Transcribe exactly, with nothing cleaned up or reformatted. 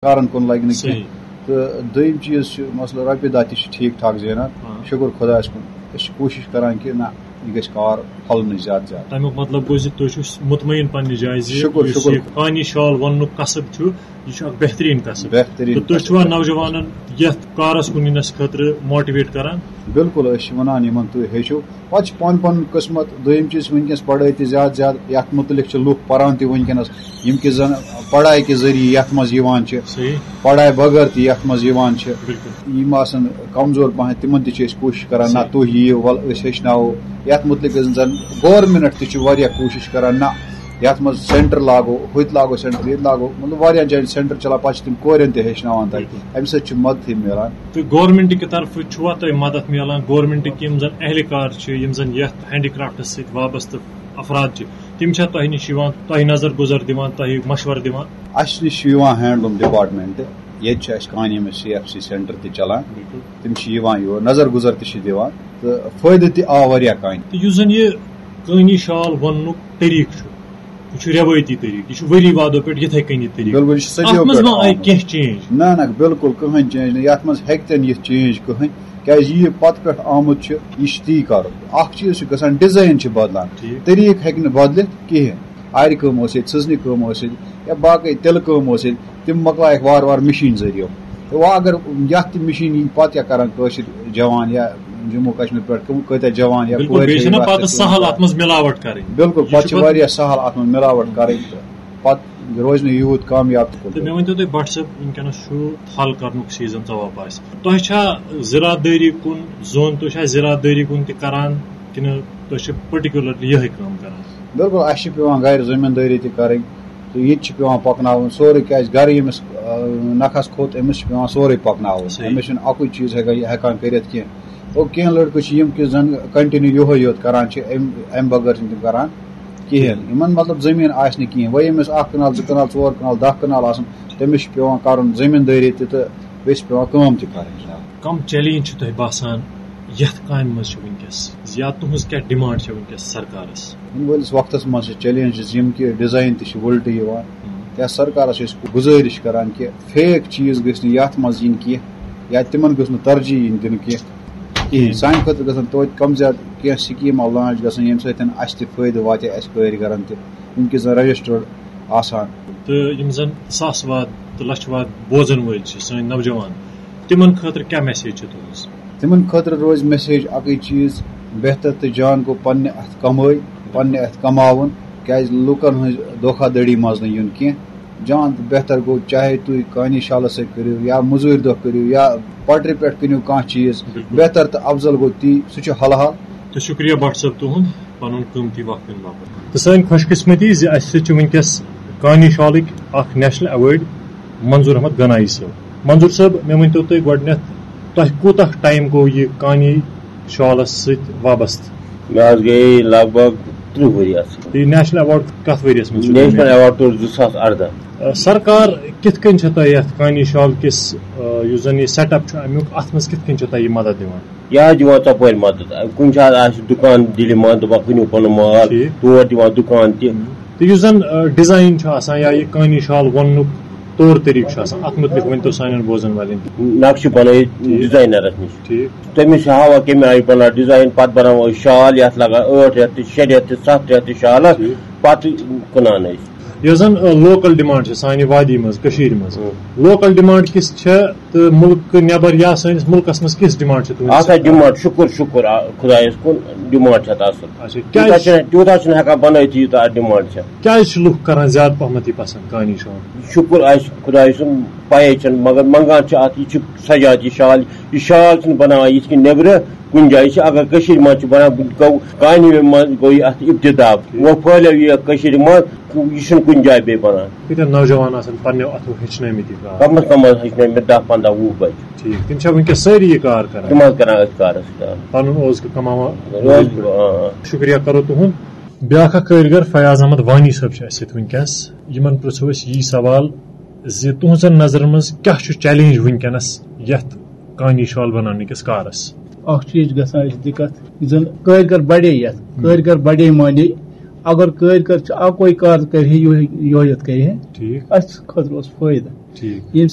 کارن کُن لگہِ نہٕ کینٛہہ۔ صحیح۔ تہٕ دوٚیِم چیٖز چھُ، مسلہٕ رۄپیہِ دہ تہِ چھِ ٹھیٖک ٹھاک زینان۔ ہاں۔ شُکُر خۄدایَس کُن، أسۍ چھِ کوٗشِش کران کہِ نہ، یہِ گژھِ کار پھۄلنٕچ زیادٕ زیادٕ۔ تَمیُک مطلب گوٚو زِ تُہۍ چھِو مطمئن پننہِ جایہِ زِ شُکُر، یُس شُکُر۔ یہِ کانی شال ووننُک قصب چھُ، یہِ چھُ اکھ بہتریٖن قصب۔ بہتریٖن تہٕ تُہۍ قصب۔ چھِوا نوجوانن یتھ کارس کُن یِنس خٲطرٕ موٹیویٹ کران؟ بِلکُل، أسۍ چھِ وَنان یِمَن، تُہۍ ہیٚچھِو۔ پَتہٕ چھِ پَنُن پَنُن قٕسمَت۔ دوٚیِم چیٖز چھِ وٕنکیٚنَس پَڑھٲے تہِ زیادٕ زیادٕ، یَتھ مُتعلِق چھِ لُکھ پَران تہِ وٕنکیٚنَس، یِم کہِ زَن پَڑھاے کہِ ذٔریعہٕ یَتھ منٛز یِوان چھِ، صحیح۔ پَڑھاے بغٲر تہِ یَتھ منٛز یِوان چھِ۔ بِلکُل۔ یِم آسَن کَمزور پَہَن، تِمَن تہِ چھِ أسۍ کوٗشِش کَران، نہ، صحیح۔ تُہۍ یِیِو، وَلہٕ أسۍ ہیٚچھناوو۔ یَتھ مُتعلِق زَن گورمِنَٹ تہِ چھِ واریاہ کوٗشِش کَران، نہ، یَتھ منٛز سینٹر لاگو، ہُتہِ لاگو سینٹر، ییٚتہِ لاگو، مطلب، واریاہَن جایَن سینٹر چَلان، پَتہٕ چھِ تِم کورٮ۪ن تہِ ہیٚچھناوان تَتہِ۔ بِلکُل۔ اَمہِ سۭتۍ چھِ مَدتھٕے مِلان۔ تہٕ گورمنٹ کہِ طرفہٕ چھُوا تۄہہِ مدد میلان؟ گورمنٹٕکۍ یِم زن اہلکار چھِ، یِم زن یتھ ہینڈی کرافٹس سۭتۍ وابستہٕ افراد چھِ، تِم چھا تۄہہِ نِش یِوان، تۄہہِ نظر گُزر دِوان، تۄہہِ مشورٕ دِوان؟ اَسہِ نِش چھِ یِوان ہینڈلوم ڈپارٹمنٹ، ییٚتہِ چھِ اَسہِ کانہِ ییٚمِس سی ایف سی سینٹر تہِ چلان۔ بِلکُل۔ تِم چھِ یِوان یور، نظر گُزر تہِ چھِ دِوان، تہٕ فٲیدٕ تہِ آو واریاہ کانہِ۔ تہٕ یُس زن یہِ کٲنی شال ووننُک طریٖقہٕ چھُ، یہِ چھُ رٮ۪وٲیتی طریٖقہٕ، یہِ چھُ ؤری وادو پٮ۪ٹھ یِتھَے کٔنی طریٖقہٕ۔ بِلکُل، یہِ چھُ صدیو اَتھ منٛز پٮ۪ٹھ ما آیہِ آمُت۔ کینٛہہ چینج؟ نہ، نہ، بِلکُل کٕہٕنۍ چینج نہٕ۔ یَتھ منٛز ہیٚکہِ تہِ نہٕ یِتھ چینج کٕہٕنۍ، کیٛازِ یہِ پَتہٕ پٮ۪ٹھ آمُت چھُ، یہِ چھُ تی کَرُن۔ اَکھ چیٖز چھُ گژھان، ڈِزاین چھِ بَدلان، ٹھیٖک۔ طریٖقہٕ ہیٚکہِ نہٕ بَدلِتھ کِہیٖنۍ۔ آرِ کٲم ٲسِتھ، سٕژنہِ کٲم ٲسِتھ، یا باقٕے تِلہٕ کٲم ٲسِتھ، تِم مۄکلایَکھ وارٕ وارٕ مِشیٖن ذٔریعہٕ۔ تہٕ وۄنۍ اگر یَتھ تہِ مِشیٖن یی، پَتہٕ کیٛاہ کَرَن کٲشِرۍ جوان یا جموں کشمیر پٮ۪ٹھ کٕم کۭتیٛاہ جوان یا بِلکُل، کورِ بیٚیہِ چھِ چھَنہ یِوان پَتہٕ اَتھ سَہَل پٮ۪ٹھ۔ اَتھ منٛز مِلاوَٹ کَرٕنۍ۔ بِلکُل، یہِ پَتہٕ چھُ چھِ پَتہٕ واریاہ سَہَل اَتھ منٛز مِلاوَٹ کَرٕنۍ تہٕ پَتہٕ روزِ نہٕ یوٗت کامیاب تہِ کُنہِ تہٕ مےٚ جایہِ۔ ؤنۍ تو تُہۍ، بٹ صٲب، وٕنکیٚنَس چھُ تھل کَرنُک سیٖزن ژَوا پاسہِ۔ تۄہہِ چھا زِراعت دٲری کُن زوٚن، تُہۍ چھا زِراعت دٲری کُن تہِ کَران کِنہٕ تُہۍ چھِ پٔٹِکیوٗلرلی یِہوٚے کٲم کَران؟ بِلکُل، اَسہِ چھِ پٮ۪وان گَرِ زٔمیٖندٲری تہِ کَرٕنۍ تہٕ یہِ تہِ چھِ پٮ۪وان پَکناوُن سورُے، کیٛازِ گَرٕ ییٚمِس، آ، نَکھَس کھوٚت، أمِس چھِ پٮ۪وان سورُے پَکناوُن۔ صحیح۔ أمِس چھُنہٕ اَکُے چیٖز ہٮ۪کان یہِ ہٮ۪کان کٔرِتھ کینٛہہ۔ گوٚو، کینٛہہ لٔڑکہٕ چھِ یِم کہِ زَن کَنٹِنیوٗ یِہوٚے یوت کَران چھِ، اَمہِ، اَمہِ بغٲر چھِنہٕ تِم کَران کِہیٖنۍ۔ یِمَن، مطلب، زٔمیٖن آسہِ نہٕ کِہیٖنۍ۔ وۄنۍ ییٚمِس اَکھ کَنال، زٕ کَنال، ژور کَنال، دَہ کَنال آسَن، تٔمِس چھِ پٮ۪وان کَرُن زٔمیٖندٲری تہِ تہٕ بیٚیہِ چھِ پٮ۪وان کٲم تہِ کَرٕنۍ جِناب۔ کم چیلنج چھِ تۄہہِ باسان یتھ کامہِ منٛز چھِ وٕنکیٚس، یا تُہنٛز کیٛاہ ڈیمانڈ چھِ وٕنکیٚس سرکارس؟ یِنہٕ وٲلِس وقتس منٛز چھِ چیلنجز یِم کہِ ڈیزاین تہِ چھِ وُلٹہٕ یِوان۔ ہم۔ یا سرکارس چھِ أسۍ گُزٲرِش کران کہِ فیک چیٖز گٔژھۍ نہٕ یتھ منٛز یِنۍ کینٛہہ، یا تِمن گٔژھ نہٕ ترجیح یِنۍ دِنہٕ کینٛہہ کِہیٖنۍ۔ سانہِ خٲطرٕ گژھن توتہِ کم زیادٕ کینٛہہ سکیٖمہٕ لانچ گژھن، ییٚمہِ سۭتۍ اسہِ تہِ فٲیدٕ واتہِ، اسہِ کٲرۍ گرن تہِ، یِم کہِ زن رجسٹرڈ آسان۔ تہٕ یِم زن ساس واد تہٕ لچھ واد بوزن وٲلۍ چھِ، سٲنۍ نوجوان، تِمن خٲطرٕ کیٛاہ میسیج چھِ تُہٕنٛز؟ تِمن خٲطرٕ روزِ میسیج اکٕے چیٖز، بہتر تہٕ جان گوٚو پننہِ اتھٕ کمٲے، پننہِ اتھٕ کماوُن، کیٛازِ لوٗکن ہٕنٛز دھوکہ دھڑی منٛز نہٕ یُن کینٛہہ۔ جان تہٕ بہتر گوٚو، چاہے تُہۍ کانی شالس سۭتۍ کٔرِو یا مٔزوٗرۍ دۄہ کٔرِو یا پٹرِ پٮ۪ٹھ کٕنِو کانٛہہ چیٖز، بِلکُل۔ بہتر تہٕ افضل گوٚو تی، سُہ چھُ حلال۔ تہٕ شُکریہ بٹ صٲب تُہُنٛد پنُن قۭمتی وقت دِنہٕ باپتھ۔ تہٕ سٲنۍ خۄش قسمتی زِ اَسہِ سۭتۍ چھِ وٕنکیٚس کانی شالٕکۍ اکھ نیشنل ایوارڈ منظور احمد گنایی صٲب۔ منظور صٲب، مےٚ ؤنۍ تو تُہۍ گۄڈٕنیتھ، تۄہہِ کوٗتاہ ٹایم گوٚو یہِ کانی شالس سۭتۍ وابستہٕ؟ مےٚ حظ گٔے لگ بگ ترٕٛہ ؤری اَتھ سۭتۍ۔ یہِ نیشنل ایوارڈ کتھ ؤریَس منٛز چھُ نیشنل دیُتمُت؟ ایوارڈ توٚر زٕ ساس ارداہ۔ آ، سرکار کِتھ کٔنۍ چھےٚ تۄہہِ یَتھ کانی شال کِس، آ، یُس زَن یہِ سیٹ اپ چھُ اَمیُک، اَتھ منٛز کِتھ کٔنۍ چھےٚ تۄہہِ یہِ مدد دِوان؟ یہِ حظ دِوان ژۄپٲرۍ مدد۔ کُنہِ ساتہٕ آسہِ دُکان دِلہِ منٛز، دَپان کٕنِو پَنُن مال، ٹھیٖک۔ تور دِوان دُکان تہِ۔ تہٕ یُس زَن، آ، ڈیزائن چھُ آسان یا یہِ کانی شال ووننُک طور طریٖقہٕ چھُ آسان، اَتھ مُتعلِق ؤنۍ تو سانٮ۪ن بوزَن والٮ۪ن تہِ۔ نقشہٕ بَنٲیِتھ ٹھیٖک۔ ڈیزاینَرَس نِش۔ ٹھیٖک۔ تٔمِس چھِ ہاوان کَمہِ آیہِ بَناو ڈیزاین، پَتہٕ بَناوو أسۍ شال، یَتھ لَگان ٲٹھ رٮ۪تھ تہِ، شےٚ رٮ۪تھ تہِ، سَتھ رٮ۪تھ تہِ شالَس، ٹھیٖک۔ پَتہٕ کٕنان أسۍ۔ یۄس زَن، آ، لوکل ڈیمانڈ چھِ سانہِ وادی منٛز، کٔشیٖرِ منٛز۔ اۭں۔ لوکل ڈیمانڈ کِژھ چھےٚ تہٕ مُلکہٕ نٮ۪بر یا سٲنِس مُلکس منٛز کِژھ ڈیمانڈ چھِ تُہٕنٛز؟ اَتھ حظ ڈیمانڈ، شُکُر، شُکُر، آ، خۄدایَس کُن، ڈیمانڈ چھِ اَتھ اَصٕل۔ اچھا، تیوٗتاہ کیٛازِ؟ چھِنہٕ، تیوٗتاہ چھِنہٕ ہٮ۪کان بَنٲیِتھٕے، یوٗتاہ اَتھ ڈیمانڈ چھےٚ۔ کیٛازِ چھِ لُکھ کران زیادٕ پَہمَتھ یہِ پسنٛد، کانی شال؟ شُکُر آسہِ خۄدایہِ سُنٛد، پَیے چھَنہٕ، مگر منٛگان چھِ اَتھ، یہِ چھِ سجاد یہِ شال، یہِ شال چھِنہٕ بَناوان یِتھ کٔنۍ نیٚبرٕ کُنہِ جایہِ چھِ، اگر کٔشیٖرِ منٛز چھِ بَنان، گوٚو کانہِ منٛز گوٚو یہِ اَتھ ابتدا، وۄنۍ پھٔہلیو یہِ کٔشیٖرِ منٛز۔ یہِ چھُنہٕ کُنہِ جایہِ بیٚیہِ بَنان۔ کۭتیٛاہ نوجوان آسَن پنٛنیو اَتھو ہیٚچھنٲومٕتۍ یہِ کار؟ کَم از کم حظ ہیٚچھنٲوۍ مےٚ دَہ پنٛداہ وُہ بَچہِ۔ ٹھیٖک، تِم چھا وٕنکیٚس سٲری یہِ کار کران؟ تِم حظ کران أتھۍ کارَس سۭتۍ، آ۔ پَنُن اوزکہٕ کَماوان۔ روزِ، آ، آ۔ شُکریہ کَرو تُہُنٛد۔ بیٛاکھ اَکھ کٲرۍ گر فیاض احمد وانی صٲب چھِ اَسہِ سۭتۍ وٕنکیٚس۔ یِمَن پرٛژھو أسۍ یی سوال زِ تُہٕنٛزَن نظرَن منٛز کیٛاہ چھُ چیلنج وٕنکیٚنَس یَتھ کانی شال بَناونہٕ کِس کارَس؟ اکھ چیٖز چھِ گژھان اَسہِ دِقت، یُس زَن کٲرۍ گر بَڑے یَتھ، ہُم۔ کٲرۍ گر بَڑے مانے، اگر کٲرۍ گر چھِ اَکوے کار کَرِ ہے، یِہوٚے، یِہوٚے یوت کَرِ ہے، ٹھیٖک۔ اَسہِ خٲطرٕ اوس فٲیدٕ۔ ٹھیٖک۔ ییٚمہِ